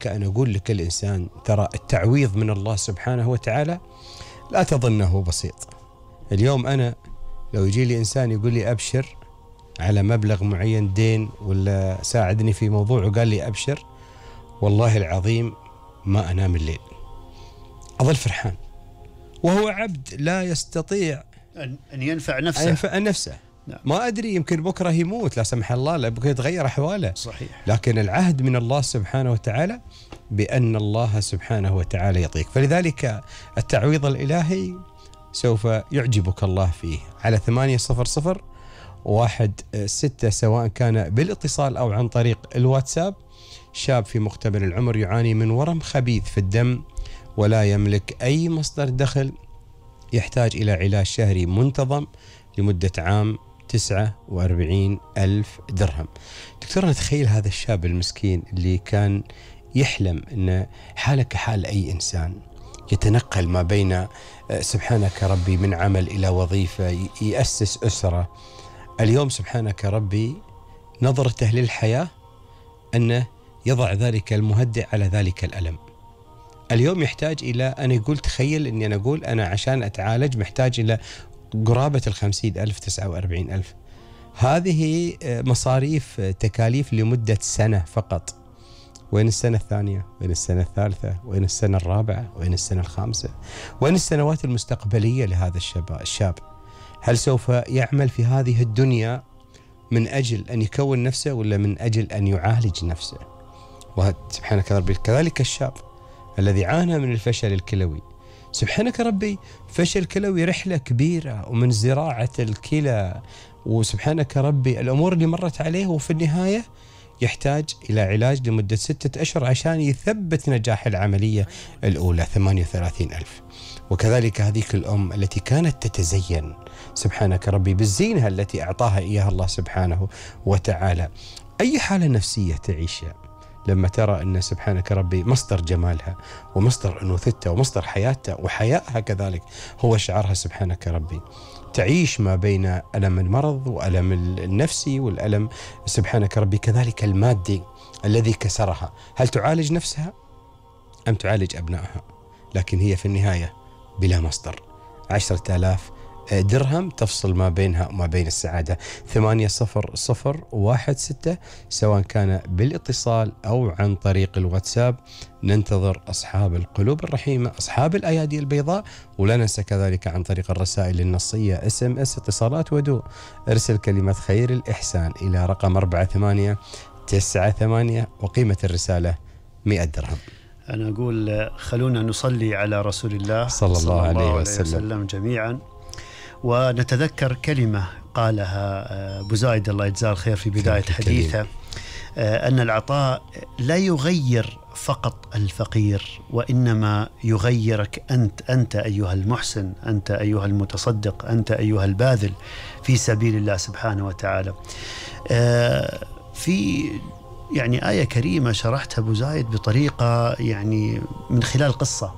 كأن أقول لكل إنسان ترى التعويض من الله سبحانه وتعالى لا تظنه بسيط. اليوم أنا لو يجي لي إنسان يقول لي أبشر على مبلغ معين دين ولا ساعدني في موضوع وقال لي أبشر، والله العظيم ما أنام الليل، أظل فرحان، وهو عبد لا يستطيع أن ينفع نفسه. نعم. ما أدري يمكن بكرة يموت لا سمح الله، لا بكرة يتغير أحواله. صحيح. لكن العهد من الله سبحانه وتعالى بأن الله سبحانه وتعالى يعطيك، فلذلك التعويض الإلهي سوف يعجبك الله فيه. على 800-16 سواء كان بالاتصال أو عن طريق الواتساب. شاب في مقتبل العمر يعاني من ورم خبيث في الدم ولا يملك أي مصدر دخل، يحتاج إلى علاج شهري منتظم لمدة عام 49,000 درهم. دكتور، نتخيل هذا الشاب المسكين اللي كان يحلم أن حاله كحال أي إنسان، يتنقل ما بين سبحانك ربي من عمل إلى وظيفة، يأسس أسرة. اليوم سبحانك ربي نظرته للحياة أنه يضع ذلك المهدئ على ذلك الألم. اليوم يحتاج إلى، أنا يقول تخيل أني أنا أقول أنا عشان أتعالج محتاج إلى قرابة 50,000 49,000. هذه مصاريف تكاليف لمدة سنة فقط. وين السنة الثانية؟ وين السنة الثالثة؟ وين السنة الرابعة؟ وين السنة الخامسة؟ وين السنوات المستقبلية لهذا الشاب؟ هل سوف يعمل في هذه الدنيا من أجل أن يكون نفسه ولا من أجل أن يعالج نفسه؟ سبحانك ربي كذلك الشاب الذي عانى من الفشل الكلوي. سبحانك ربي فشل كلوي رحلة كبيرة، ومن زراعة الكلى، وسبحانك ربي الأمور اللي مرت عليه، وفي النهاية يحتاج إلى علاج لمدة 6 أشهر عشان يثبت نجاح العملية الأولى 38,000. وكذلك هذيك الأم التي كانت تتزين سبحانك ربي بالزينة التي أعطاها إياها الله سبحانه وتعالى. أي حالة نفسية تعيشها لما ترى أن سبحانك ربي مصدر جمالها ومصدر أنوثتها ومصدر حياتها وحيائها كذلك هو شعارها سبحانك ربي، تعيش ما بين ألم المرض وألم النفسي والألم سبحانك ربي كذلك المادي الذي كسرها. هل تعالج نفسها أم تعالج أبنائها؟ لكن هي في النهاية بلا مصدر. 10,000 درهم تفصل ما بينها وما بين السعادة. 800-16 سواء كان بالاتصال أو عن طريق الواتساب. ننتظر أصحاب القلوب الرحيمة، أصحاب الأيادي البيضاء. ولا ننسى كذلك عن طريق الرسائل النصية SMS اتصالات ودو. ارسل كلمة خير الإحسان إلى رقم 48998 وقيمة الرسالة 100 درهم. أنا أقول خلونا نصلي على رسول الله صلى الله عليه وسلم جميعا، ونتذكر كلمة قالها أبو زايد الله يجزاه الخير في بداية حديثه، أن العطاء لا يغير فقط الفقير، وإنما يغيرك أنت أيها المحسن، أنت أيها المتصدق، أنت أيها الباذل في سبيل الله سبحانه وتعالى. في يعني آية كريمة شرحتها أبو زايد بطريقة يعني من خلال قصة،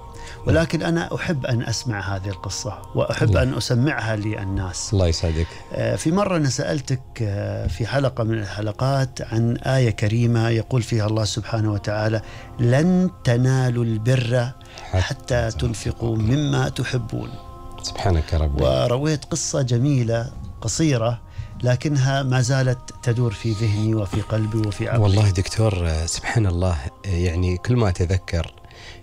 ولكن أنا أحب أن أسمع هذه القصة وأحب الله. أن أسمعها للناس. الله يسعدك. في مرة أنا سألتك في حلقة من الحلقات عن آية كريمة يقول فيها الله سبحانه وتعالى: لن تنالوا البر حتى تنفقوا مما تحبون. سبحانك ربي. ورويت قصة جميلة قصيرة لكنها ما زالت تدور في ذهني وفي قلبي وفي عقلي. والله دكتور سبحان الله، يعني كل ما أتذكر،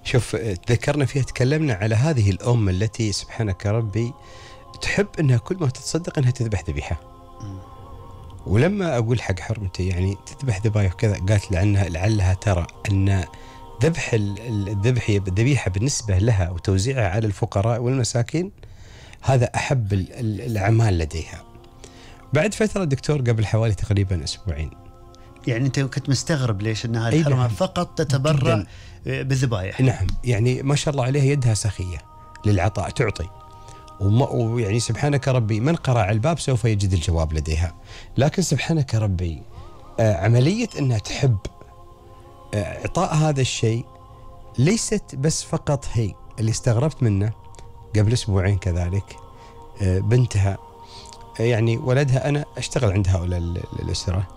شوف تذكرنا فيها تكلمنا على هذه الأم التي سبحانك ربي تحب أنها كل ما تتصدق أنها تذبح ذبيحة. ولما أقول حق حرمتي يعني تذبح ذبايح كذا، قالت لعلها ترى أن ذبح الذبيحة بالنسبة لها وتوزيعها على الفقراء والمساكين هذا أحب الأعمال لديها. بعد فترة دكتور قبل حوالي تقريبا أسبوعين، يعني أنت كنت مستغرب ليش أنها الحرمة فقط تتبرع بالذبائح. نعم، يعني ما شاء الله عليها يدها سخية للعطاء، تعطي، ويعني سبحانك ربي من قرع الباب سوف يجد الجواب لديها. لكن سبحانك ربي عملية أنها تحب إعطاء هذا الشيء ليست بس فقط هي. اللي استغربت منه قبل أسبوعين كذلك بنتها، يعني ولدها أنا أشتغل عند هؤلاء الأسرة،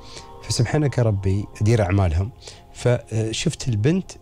فسبحانك ربي أدير أعمالهم، فشفت البنت